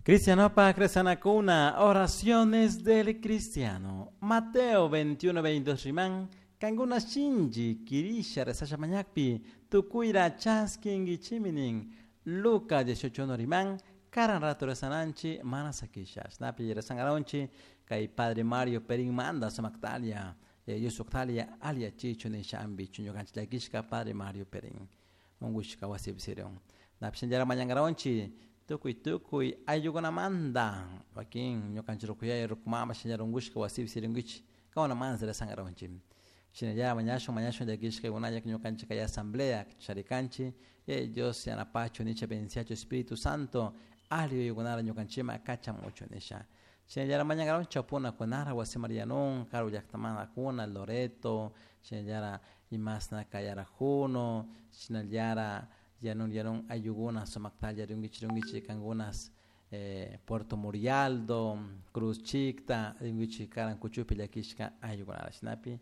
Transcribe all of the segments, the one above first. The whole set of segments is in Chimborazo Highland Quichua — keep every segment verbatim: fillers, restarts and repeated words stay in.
Cristianopa Cresanacuna, oraciones del cristiano. Mateo veintiuno, veintidós riman, kankuna shinchi kirisha rezasha mañakpi, tukuyra chaskinkichiminin. Lucas dieciocho uno riman, karan rato rezananchi, mana sakisha. Snapi rezangaronchi, kay Padre Mario Perín manda sumaktalia, Yusuktalia, alia chichu nishambi, chuñukanchi llakishka Padre Mario Perín. Ungushka wasipsirion. Napshinjara mañangaronchi, tukuy tukuy ayukunamanta wakin ñukanchik rukuyay rukumama shinallara unkushka wasipi sirinkichik kawana mana rezangaronchik shinallara mañashun mañashun llakishka kunayak ñukanchik kay asamblea charikanchik Yaya Dios yanapachu nisha bendiciachu Espíritu Santo alli yuyaykunara ñukanchikman kachamuchu nisha shinallara mañangaronchik chawpuna kunara wasi Marianun karu llaktamantakuna Loreto shinallara imasna kay Arajuno shinallara yanun yanun ayllukuna sumaktalla rinkichik rinkichik kankunas eh, Puerto Murialdo, Cruz Chicta, rinkichik karan kuchupi llakishka ayllukunara shinapi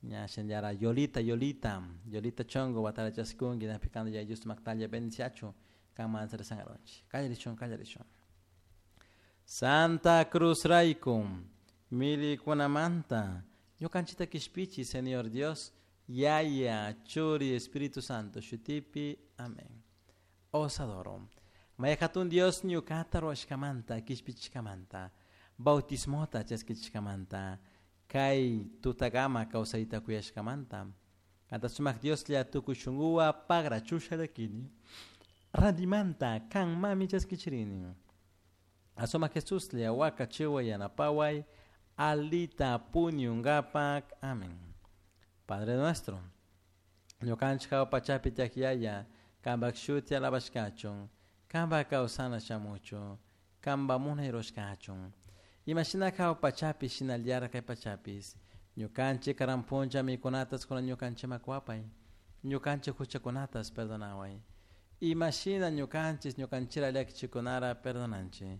ña shinallara Yolita Yolita Yolita Chongo watara chaskunki napi kanta Yaya Dios sumaktalla bendiciachu kanmanta rezangaronchik kallarishun kallarishun Santa Cruz rayku milikunamanta ñukanchikta kishpichi Señor Dios Yaya Churi Espíritu Santo shutipi amén. Os adoro. Maya hatun Dios ñukata ruwashkamanta kishpichishkamanta bautismota chaskichishkamanta kay tutakama kawsayta kuyashkamanta kanta sumak Dioslla tukuy shunkuwa pagrachusha llakini rantimanta kan mami chaskichirini asumak Jesuslla wakachiway yanapaway alita puñunkapak amén. Padre nuestro, ñukanchik hawa pachapi tiyak Yaya, kanpak shuti alabashkachun, kanpak kawsana shamuchun, kanpak munay rurashkachun. Imashina hawa pachapi shinallara kay pachapis, ñukanchik karan puncha mikunatas kunan ñukanchikman kuwapay, ñukanchik huchakunatas perdonaway. Imashina ñukanchis ñukanchira llakichikunara perdonanchik,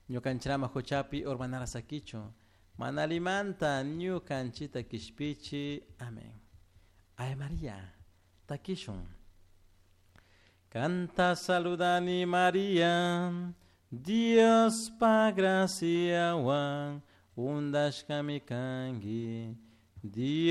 ñukanchirama huchapi urmanara sakichun, mana allimanta ñukanchita kishpichi. Amén. Ave María, takishun. Canta saludani María, Dios pa graciawan, undashkami kanki. Dios